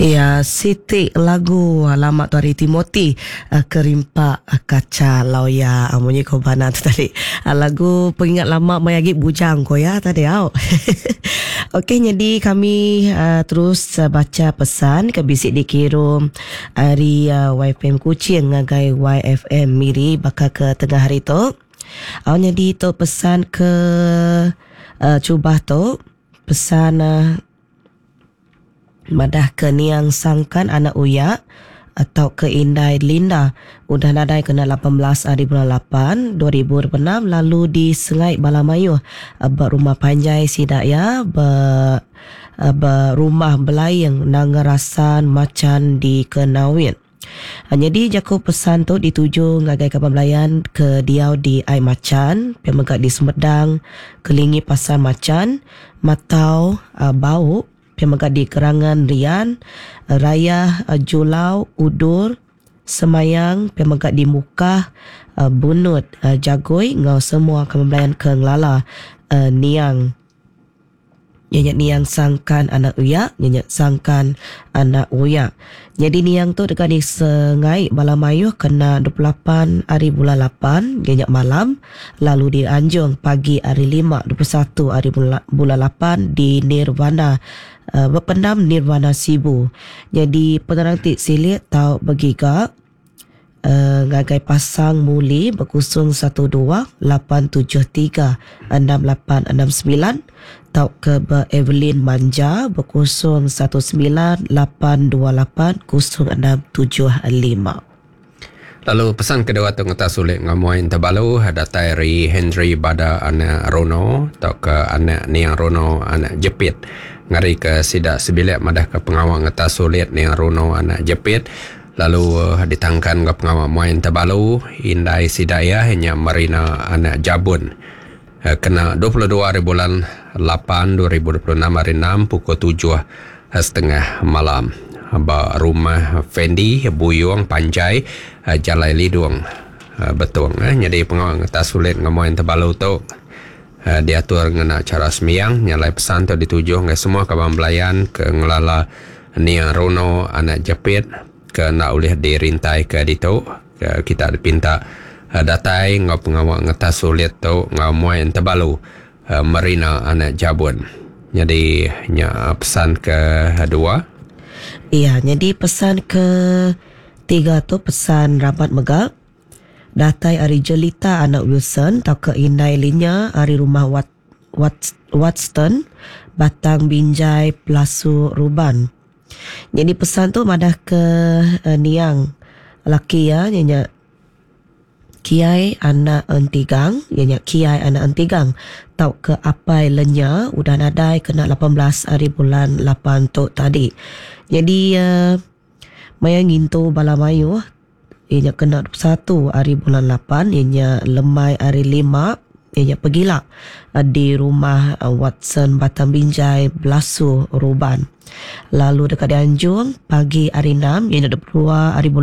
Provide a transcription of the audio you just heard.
Iya siti lagu lama tu ari Timothy Kerimpak Kacha Lawya munyi ko bana tu tadi. Lagu pengingat lama maya agi bujang ko iya tadi au. Okey nyadi kami terus bacha pesan ke bisi dikirum ari YFM Kuching ngagai YFM Miri baka ke tengah hari tu. Au nyadi tu pesan ke chubah tu pesan Madah ke niang sangkan anak uyak tauka indai Linda udah nadai kena 18 ari bulan lapan 2026 lalu disengai bala mayuh ba rumah panjai sida iya ba ba Rumah Belaing Nanga Rasan Machan di Kenawit. Nyadi jaku pesan tu dituju ngagai kaban belayan ke diau di Ai Machan pia mega di Sumedang kelingi Pasar Machan, Matau, Bau pia mega di Kerangan Rian, Rayah, Julau, Udur, Semayang pia mega di Mukah, Bunut, Jagoi enggau semua kaban belayan ke ngelala niang. Iya nya niang sangkan anak uyak, iya nya sangkan anak uyak. Nyadi niang tu deka disengai bala mayuh kena 28 ari bulan lapan, iya nya malam, lalu dianjung pagi ari lima 21 ari bulan lapan di Nirvana bependam Nirvana Sibu. Nyadi penerang ti silik tau begiga. Ngagai pasang muli bekusung 12 873 6869 tauka ba Evelyn Manja bekusung 19 828 0675. Lalu pesan kedua tu ngetas ulit enggau muai Entebalu datai ari Henry Bada anak Rono tauka anak Niang Rono anak Jepit ngarika sida sebilik madahka pengawa ngetas ulit Niang Rono anak Jepit Lalu ditangkan enggau pengawa muai Entabalu, indai sida iya nya Marina anak Jabun. Kena 22 hari bulan lapan 2026 hari enam pukul tujuh setengah malam ba Rumah Fendi, Buyong Panjai, Jalai Lidong, Betong. Nyadi pengawa ngetas ulit enggau muai Entabalu tu diatur ngena chara sembiang. Nya alai pesan tu dituju ngagai semua kaban belayan ke ngelala Nia Rono anak Jepit ke enda ulih dirintaika ditu ke kita dipinta datai enggau pengawa ngetas ulit tu enggau muai entebalu Marina anak Jabun. Nyadi nya pesan ke dua. Iya nyadi pesan ke tiga tu pesan rabat mega datai ari Jelita anak Wilson tauka indai Linya ari rumah Wat. Watston, Batang Binjai, Pelasu Ruban. Nyadi pesan tu madah ke niang laki iya iya nya Kiai anak Entigang iya nya Kiai anak Entigang tauka Apai Lenya udah nadai kena 18 ari bulan lapan tu tadi. Nyadi maya ngintu bala mayuh Iya nya kena 21 ari bulan lapan iya nya lemai ari lima iya nya pegila di Rumah Watson Batang Binjai Belasu Ruban. Lalu deka dianjung pagi ari enam iya nya 22 ari bulan.